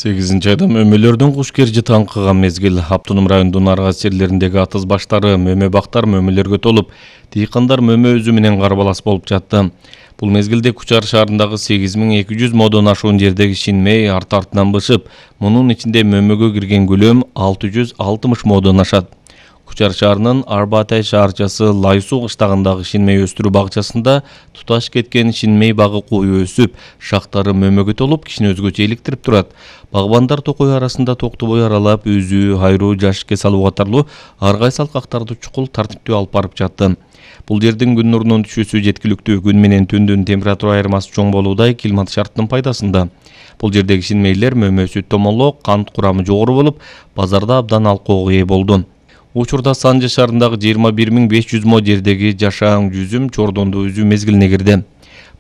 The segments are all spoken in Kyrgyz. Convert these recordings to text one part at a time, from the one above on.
8-айда мөмөлөрдүн куш кержи таңкыган мезгил. Автоном райондун ар кайсы жерлериндеги атыз баштары, мөмө бактар мөмөлөргө толуп, дыйкандар мөмө өзү менен карбалас болуп жатты. Бул мезгилде Кучар шаарындагы 8200 модон ашуун жердеги шинмей арт-артынан бышып, мунун ичинде мөмөгө кирген көлөм 660 модон ашат. Кучар шаарынын Арбатай шаарчасы Лайсуу кыштагындагы шинмей өстүрүү багчасында туташ кеткен шинмей багы кою өсүп, шактары мөмөгө толуп, кишини өзгөчө иликтирип турат. Багбандар токой арасында токтобой аралап, үзүү, хайруу, жашикке салуу катарлуу ар кайсы алкактарды чукул тартиптүү алып барып жатты. Бул жердин күн нурунун түшүүсү жеткиликтүү, күн менен түндүн температура айырмасы чоң болуудай климат шарттын пайдасында. Бул жердеги шинмейлер мөмөсү томолок, кант курамы жогору болуп, базарда абдан алкоого ээ болду. Учурда Санжы шаарындагы 21500 мо жердеги жашаан жүзүм чордондуу үзүү мезгилине кирди.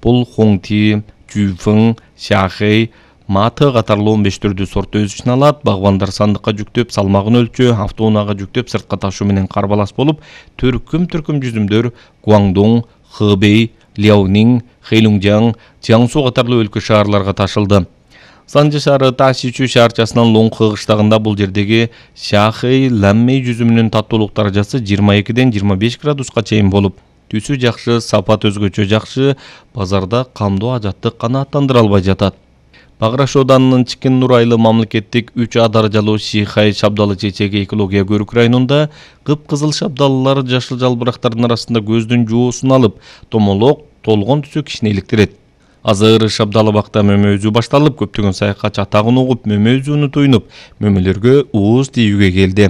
Бул Хоңти, Жуйфың, Шахэй, Маты катарлуу 15 түрдүү сорт өз ичине алат. Багбандар сандыкка жүктөп, салмагын өлчөө, автоунаага жүктөп, сыртка ташуу менен карбалас болуп, төркүм жүзүмдөр Гуаңдоң, Хэбэй, Ляонинг, Хэйлунжяң, Jiangsu катарлуу өлкө шаарларга ташылды. Санжы шаары Ташичу шаарчасынын Лоңхы кыштагында бул жердеги Шахэй ләммей жүзүмүнүн таттуулук даражасы 22-ден 25 градуска чейин болуп, түсү жакшы, сапат өзгөчө жакшы, базарда камдуу ажаттык канааттандыра албай жатат. Баграш Оданынын Чикин Нурайлы мамлекеттик 3А даражалуу Шихай шабдалы чечеги экология көрүк районунда кыпкызыл шабдалылар жашыл жалбырактардын арасында көздүн жоосун алып, томолок, толгон түсү кишини иликтирет. Азыр шабдалы бакта мөмө үзүү башталып, көптөгөн саякатчы атагын угуп, мөмө үзүүнү туйнуп, мөмөлөргө ууз тийүүгө келди.